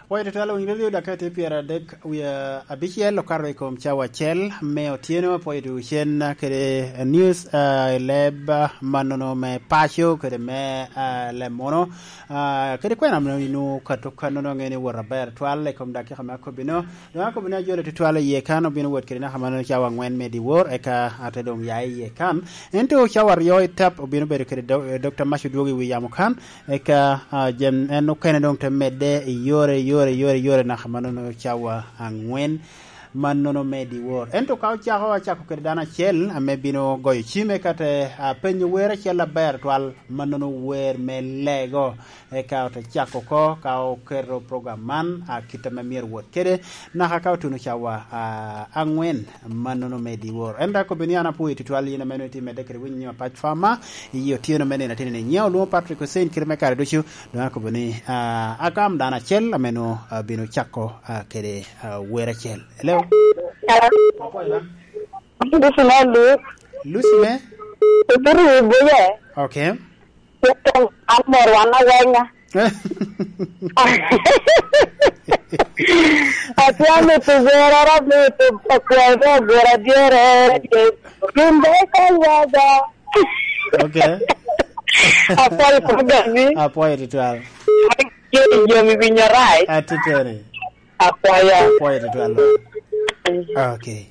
Pwoyo tutwal owiny radio dakika tye 36 okato i kom cawa acel me otyeno. Pwoyo dwogo cen kede news i leb ma nono me paco kede me leb muno kede kwena ma inongo kato ka nono angeyo ni woto aber tutwal i kom dakika me akobino. Dong akobo ni ajole tutwal i iye kan obino wot kede naka ma nono cawa angwen me dyewor eka ate dong ya i iye kan. Ento cawa aryo i tap obino bedo kede Dokta Mac odwogo i wi yamo kan Eka jami en okene dong te medde i yore, yore, yore, yore naka ma nono cawa angwen ma nono me dyewor. Ento ka ocako, acako kwede dano acel ame bino goyo cim eka te penyo wer acel aber twal ma nono wer me lego. Eka ote cako oko ka oketo program man kite ma myero owot kede naka ka otuno cawa angwen ma nono me dyewor. Ento akobo ni an apwoyo tutwal in ame nongo itye medde kwede winyo nyima pac farmer iyi otyeno me nino atir ni nyewo lwongo Patrick Hussein kite me kare ducu dong akobo ni agam dano acel ame nongo bino cako kwede wer acel. Hello. Hello. Apwoyo ba. Lucy me Luc. Lucy me? Ibiro i buye. Okay. Cito an mor wan awenya. Atye mito werara mito akwayo me agura dyere Gin be ka ywaga. Okay. Apwoyo program-mi. Apwoyo tutwal. Tye i jami winyo rac. Atiteri. Apwoyo. Apwoyo tutwal. Okay.